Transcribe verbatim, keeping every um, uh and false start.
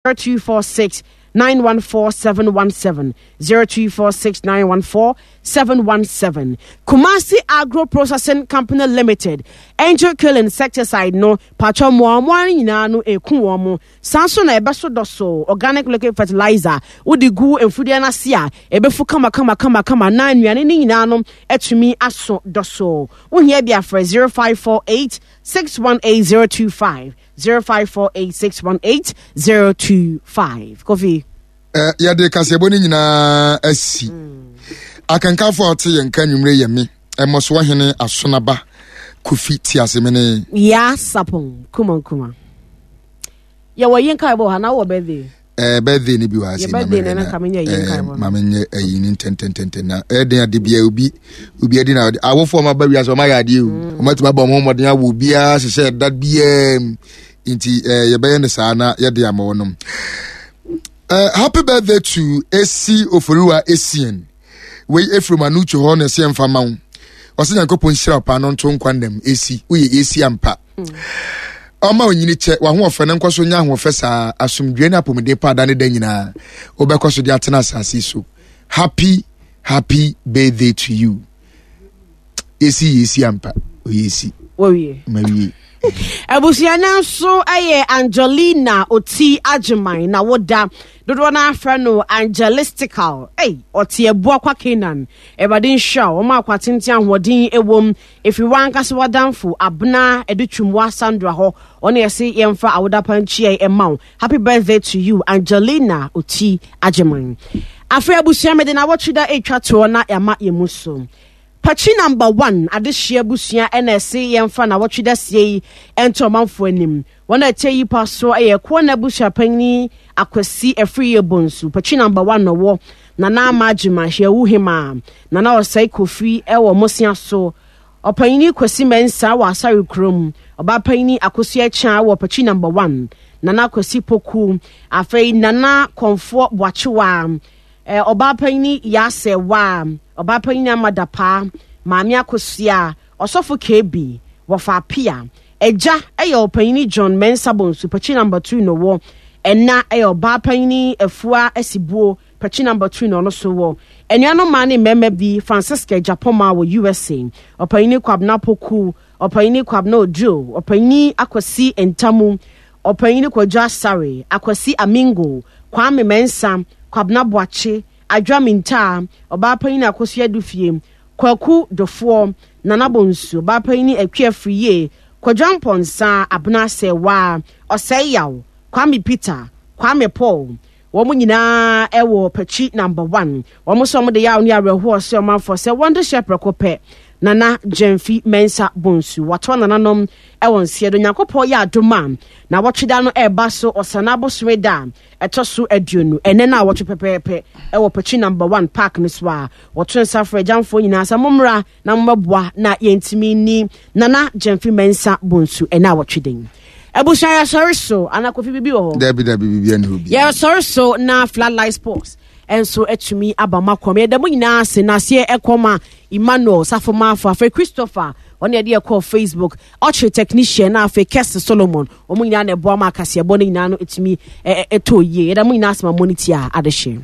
Zero two four six nine one four seven one seven zero two four six nine one four seven one seven. Kumasi Agro Processing Company Limited, Angel Kill Insecticide no patwa mmoamoa no nyinaa no eku wɔn mo. Saa nso na ɛbɛso dɔso organic liquid fertilizer wode gu mfudeɛ no ase a ɛbɛfu kama kama kama kama na nnuane no nyinaa no atumi aso dɔso. Wohia bi afrɛ zero five four eight six one eight zero two five zero five four eight six one eight zero two five. Kofi. Eh, yɛde kaseɛbɔ no nyinaa asi mm. Akankanfo a ɔte yɛn nka anwummere yɛ me ɛmmɔsoɔ hene Asonaba Kofi Tiasemene. Ya sapon kuma kuma. Yɛwɔ yi nkaebɔ wɔ ha na wowɔ birthday. Eh, birthday ni bi wɔ ase ma menyɛ ayi ne ntɛntɛntɛntɛn na ɛden ade bia obi obi adi na awofoɔ ma ba wiase ɔma yɛ adeɛ o mm. ɔma tumi abɔ ɔmo mmɔden awo obiara hyehyɛ ɛda biara mu nti eh, yɛbɛyɛ no saa na yɛde ama wɔnom. eh, happy birthday to Esi Oforiwa Essien. Wei efiri mu anucho hɔ na ɛsɛ mfa ma wo. Ɔsɛ Nyankopɔn nhyira paa no nto nkwa nnam. Esi, woyɛ Esi ampa. Ɔma onyini kyɛ, w'ahoɔfɛ no nkɔ so nyɛ ahoɔfɛ saa, asomdwoe ne apɔmuden pa da ne da nyinaa. Wobɛkɔ so de atena asase so. Happy, happy birthday to you. Esi yɛ esi ampa, oyɛ esi. Wɔwie. Mawie. Abusua no nso yɛ Angelina Oti Agyeman na woda dodoɔ no afrɛ no Angelistical. Ei, ɔte abua kwa Canaan. Awurade nhyira wo, ɔma akwa tenten ahoɔden ɛwom. Ɛfiri w'ankasa w'adamfo Abena Adutwumwa Sandra hɔ. Ɔne ɛse yɛmfa awoda pa nkyiae ɛma wo. Happy birthday to you, Angelina Oti Agyeman. Afei abusua mede na awɔtwe da ɛtwa toɔ na yɛama yɛn mu so. Pakyi number one adehyeɛ abusua ɛna ɛse yɛmfa nawɔtwe daseɛ yi ɛnto ɔmanfoɔ anim. Wɔn a ɛkyɛ yi pa so ɛyɛ Koana abusua panyin Akwasi Afriyie Bonsu, Pakyi number one na ɔwɔ Nana Ama Agyema Hwiawu Hemaa, Nana Ɔsɛe Kofi ɛwɔ Mosea so, Ɔpanyini Kwasi Mensah wɔ Asare kurom, Ɔbaapanyini Akosua Akyea wɔ Pakyi number one, Nana Kwasi Poku, afei Nana Kɔmfoɔ Boakyewaa, Eh, ɔbaa panyini Yaa Sɛɛwaa, ɔbaa panyini Ama Dapaa, Maame Akosua, Ɔsɔfo K B, Wɔfa Apia. Agya yɛ ɔpanyini John Mensah Bonsu, Pakyi number two na ɔwɔ. Ɛna yɛ ɔbaa panyini Afua Asibuo, Pakyi number two na ɔno so wɔ. Anuanom mmaa ne mmarima bi, Francisca Agyapɔmaa wɔ U S A, ɔpanyini Kwabena Poku, ɔpanyini Kwabena Oduro, ɔpanyini Akwasi Ntamu, Ɔpanyin Kwadwo Asare, Akwasi Amingo, Kwame Mensah, Kwabena Boakye, Adwoa Mintaa, Ɔbaapanyin Akosua Dufie, Kwaku Dofoɔ, Nana Bonsu, Ɔbaapanyin Akua Afriyie, Kwadwo Amponsah, Abena Asɛɛwaa, Ɔsɛe Yaw, Kwame Peter, Kwame Paul. Wɔn nyinaa wɔ Pakyi Number One. Wɔn nso wɔde yaw ne awerɛhoɔ sɛ ɔmanfoɔ sɛ wɔn de hyɛ prɛko pɛ. Nana Gyamfi Mensah Bonsu watoa nananom wɔ nseɛ do. Nyankopɔn yɛ adom a na wɔtwe da no ɛreba so Ɔsana abosome da a ɛtɔ so aduonu ɛnɛ no a wɔtwe pɛpɛɛpɛ ɛwɔ Pakyi Number One Park no so a wɔto nsa frɛ agyamfoɔ nyinaa sɛ mommra na mommɛboa na yɛntumi ni Nana Gyamfi Mensah Bonsu ɛnɛ a wɔtwe den. Abusua, yɛsɔre so ana Kofi bibi wɔ hɔ? Dabi, dabi, bibi ɛni hɔ bi. Yɛsɔre so na Floodlight Sports nso atumi aba ma kɔm. Yɛda mu nyinaa ase na aseɛ ɛkɔm a Emmanuel Safomafo, afei Christopher ɔne yɛde ɛkɔɔ Facebook ɔkyere technician, na afei Kɛse Solomon. Wɔn nyinaa na ɛboa ma akaseɛbɔ no nyinaa no ɛtumi ɛtɔ yie. Yɛda mu nyinaa ase ma mo ne tia adehye.